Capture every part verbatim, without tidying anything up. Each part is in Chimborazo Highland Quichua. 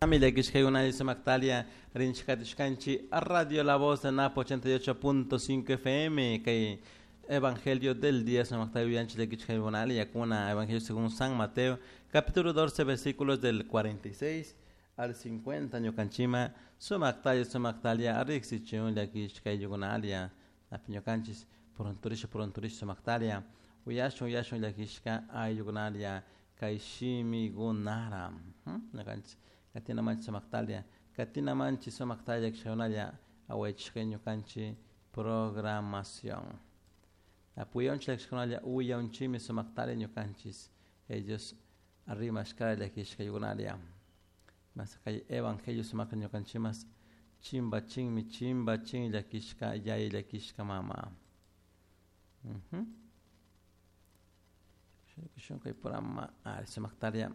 Llakishkaykuna sumaktalia rinchikatishkanchik Radio La Voz de Napo ochenta y ocho punto cinco F M kay Evangelio del día sumakta uyanchik llakishkaykunalla yakuna Evangelio según San Mateo capítulo doce versículos del cuarenta y seis al cincuenta ñukanchima sumaktalia sumaktalia riksichun llakishkaykunalia napi ñukanchis purunturisha purunturisha sumaktalia uyashun uyashun llakishka ayllukunalia kay shimikunara ñukanchis katina manchi sumaktalia katina manchi sumaktalia llakishkaykunalla awaychishka ñukanchik programación apuyanchik llakishkakunalla uyanchikmi sumaktalia ñukanchis ellos rimashkara llakishkaykunalia mas kay evangelio sumakta ñukanchimas chimbachinmi chimbachin llakishka yaya llakishka mama. Uh-huh. Kay programa ari sumaktalia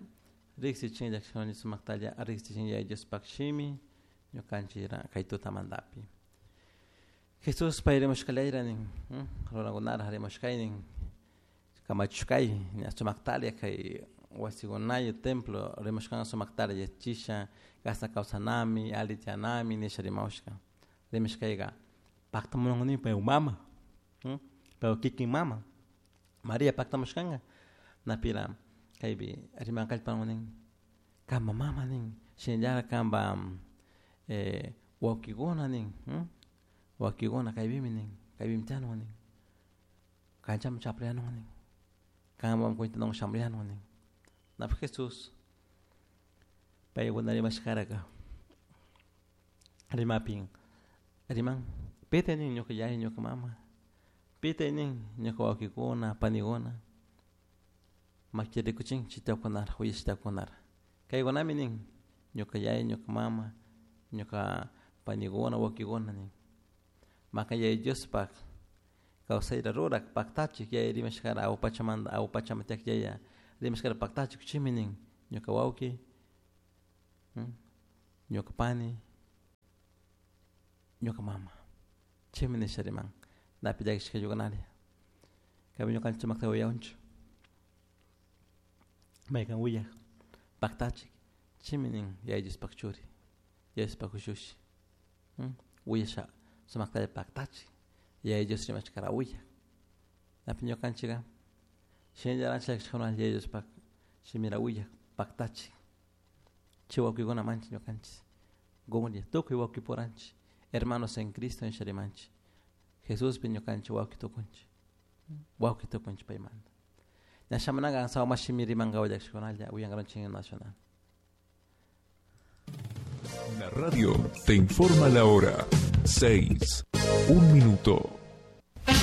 riksichin llakishkuna sumaktalia riksichin yaya Diospaq shimi ñukanchik kay tutamantapi Jesús pay rimushkalayra nin runakunara rimushkaynin kamachishkay ña sumaktalia kay wasikunaya templo rimushkan sumaktalia yachisha kashna kawsanami alli tiyanami nisha rimawshka rimashkayka paktamunani pay mama pay kikin mama Maria paktamushkanka napira kaypi rimankallpawan nin kanpa mama nin shinallara kanpa eh, wawkikuna nin wawkikuna kaypimi nin kaypimi tiyanwan nin kanchaman chapriyanwan nin kanwan cuentanwan shamuyanwan nin napi Jesús paykuna rimashkaraka rimapin riman pita nin ñuka yaya ñuka mama pita nin ñuka wawkikuna panikuna maki rikuchin chitakunara uyashitakunara kaykunami nin ñuka yaya ñuka mama ñuka panikuna wawkikuna nin maka yaya Diospaq kawsayta rurak paktachik yaya rimashkara awpachamanta awpachamanta tiyak yaya rimashkara paktachik chimi nin ñuka wawki ñuka pani ñuka mama chimi nisha riman napi llakishkaykunalia kaypi ñukanchik sumakta uyawanchik maykan willak paktachik chimi nin yaya Diospaq churi yaya Diospaq ushushi willasha sumaktalla paktachik yaya Dios rimashkara willak napi ñukanchikka shinallara llakishkuna yaya Diospaq shimira willak paktachik chay wawkikuna manchik ñukanchik gunlla tukuy wawkipuranchik hermanos en Cristo nisha rimanchik Jesuspi ñukanchik wawki tukunchik wawki tukunchik paymanta ña shamunaka sawma shimi rimankawa llakishkunalla uyankaranchik nacional. La radio te informa la hora seis, un minuto.